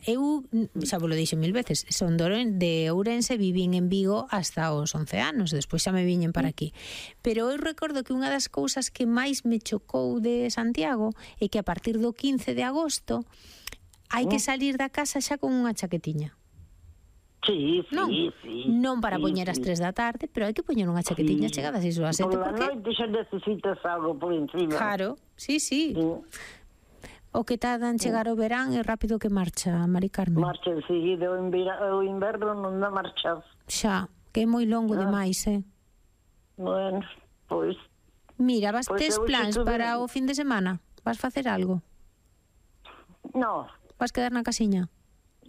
eu, xa vos lo dixo 1000 veces, son de Ourense, vivín en Vigo hasta os 11 anos, despois xa me viñen para aquí. Pero eu recordo que unha das cousas que máis me chocou de Santiago é que a partir do 15 de agosto hai que salir da casa xa con unha chaquetiña. Sí, Non, sí. non para poñer as 3 da tarde, pero hai que poñer unha chaquetiña chegada a 6 ou a 7. Por la noite xa necesitas algo por encima. Claro, sí. O que tarda en chegar o verán é rápido que marcha, Mari Carmen. Marcha enseguida, o inverno non dá marcha. Xa, que é moi longo demais, Bueno, pois... Mira, tes plans estuve... para o fin de semana? Vas facer algo? No. Vas quedar na casiña?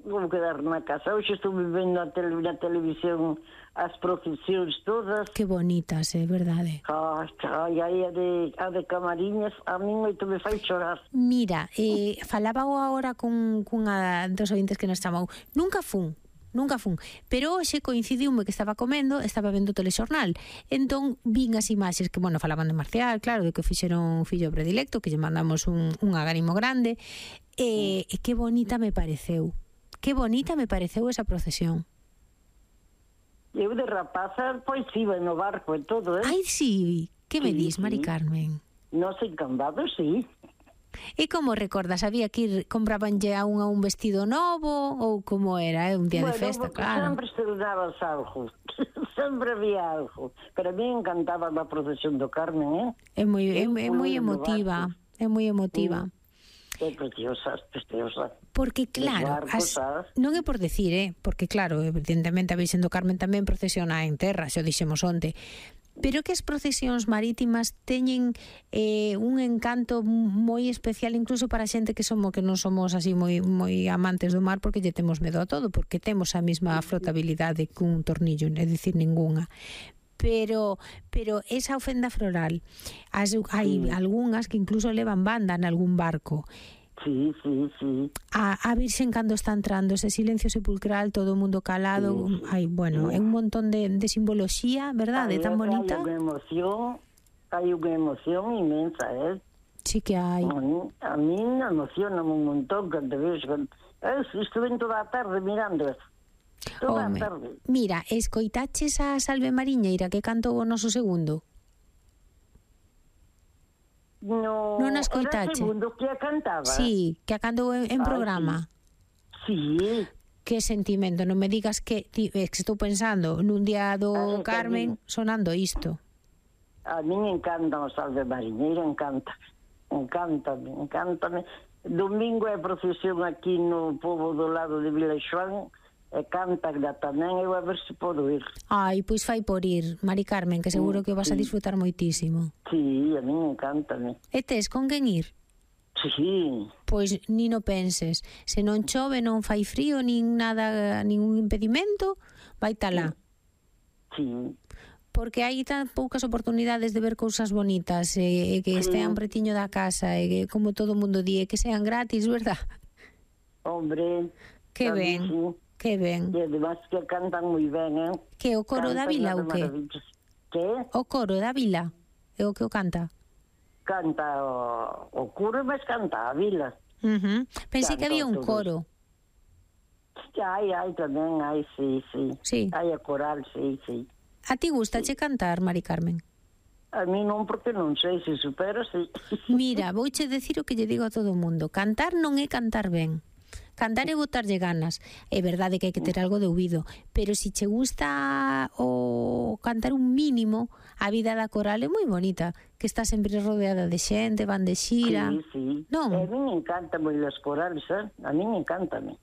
Vou quedar na casa. Hoxe estuve vendo na televisión as procesións todas. Que bonitas, é verdade. Ai, a de Camariñas, a min moito me fai chorar. Mira, falaba agora cunha dos ointes que nos chamou. Nunca fun, pero hoxe coincidiume que estaba vendo o telexornal. Entón vin as imaxes que, falaban de Marcial, claro, de que fixeron un fillo predilecto, que lle mandamos un agarimo grande, e que bonita me pareceu. Que bonita me pareceu esa procesión. Eu de rapaza, pois iba no barco e todo, Ai, sí, que me dis, Mari Carmen? Nos encantados, sí. E como recordas? Había que ir, comprabanlle a un vestido novo ou como era, un día de festa, claro. Sempre estrenabas algo, sempre había algo. Pero a mí encantaba a procesión do Carmen, É moi emotiva, é moi emotiva. É preciosa. Porque claro, non é por decir, porque claro, evidentemente a Virxen do Carmen tamén procesiona en terra, xa o dixemos onte, pero que as procesións marítimas teñen un encanto moi especial incluso para a xente que non somos así moi amantes do mar, porque lle temos medo a todo, porque temos a mesma flotabilidade cun tornillo, é dicir, ningunha. Pero esa ofenda floral, hai algunhas que incluso levan banda en algún barco. Sí. A Virxen cando está entrando, ese silencio sepulcral, todo o mundo calado, é un montón de simboloxía, verdade, tan bonita. Hai unha emoción inmensa, Sí que hai. A mí me emociona un montón cando vexo. Estuve toda a tarde mirando eso. Toda a tarde. Mira, escoitaches a Salve Mariñeira que cantou o noso segundo? Non a escoitache? Era o segundo que a cantaba. Sí, que a cantou en programa. Sí. Que sentimento, non me digas que estou pensando nun día do Carmen sonando isto. A min encanta o Salve Mariñeira, encántame. Domingo é procesión aquí no pobo do lado de Vila Xoán, e cantan tamén, eu a ver se podo ir. Ai, pois fai por ir, Mari Carmen, que seguro que o vas a disfrutar moitísimo. Sí, a min encántame. E tes con quen ir? Sí. Pois ni no penses, se non chove, non fai frío, nin nada, ningún impedimento, vai talá. Sí. Porque hai tan poucas oportunidades de ver cousas bonitas, e que estean pretiño da casa, e que, como todo o mundo di, que sean gratis, verdad? Hombre, que ben. Sí. Que ben. E además que cantan moi ben, Que o coro da vila ou que? Que? O coro da vila é o que o canta? Canta o coro, mas canta a vila. Pensei que había un coro. Hai tamén, sí. Hai a coral, sí. A ti gustache cantar, Mari Carmen? A mí non, porque non sei, se supera, sí. Mira, vouche decir o que lle digo a todo o mundo. Cantar non é cantar ben. Cantar é botarlle ganas. É verdade que hai que ter algo de ouvido, pero se che gusta o cantar un mínimo, a vida da coral é moi bonita, que está sempre rodeada de xente, van de xira. Sí. Non? A mí me encanta moi as corales, a mí me encantame.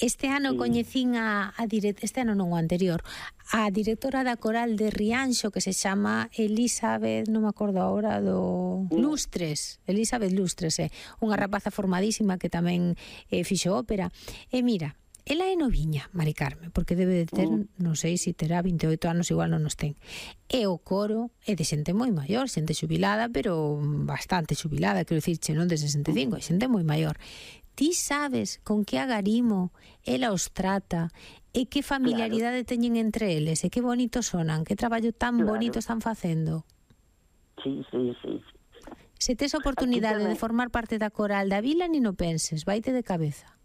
Este ano coñecín este ano non o anterior, a directora da coral de Rianxo, que se chama Elizabeth, non me acordo agora Lustres, Elizabeth Lustres, unha rapaza formadísima que tamén fixo ópera. E mira, ela é noviña, Mari Carmen, porque debe de ter, non sei se terá 28 anos, igual non nos ten. E o coro é de xente moi maior, xente xubilada, pero bastante xubilada, quero dicirche, non de 65, é xente moi maior. Ti sabes con que agarimo ela os trata e que familiaridade teñen entre eles e que bonito sonan, que traballo tan bonito están facendo. Sí. Se tes oportunidade de formar parte da coral da vila, ni no penses, vaite de cabeza.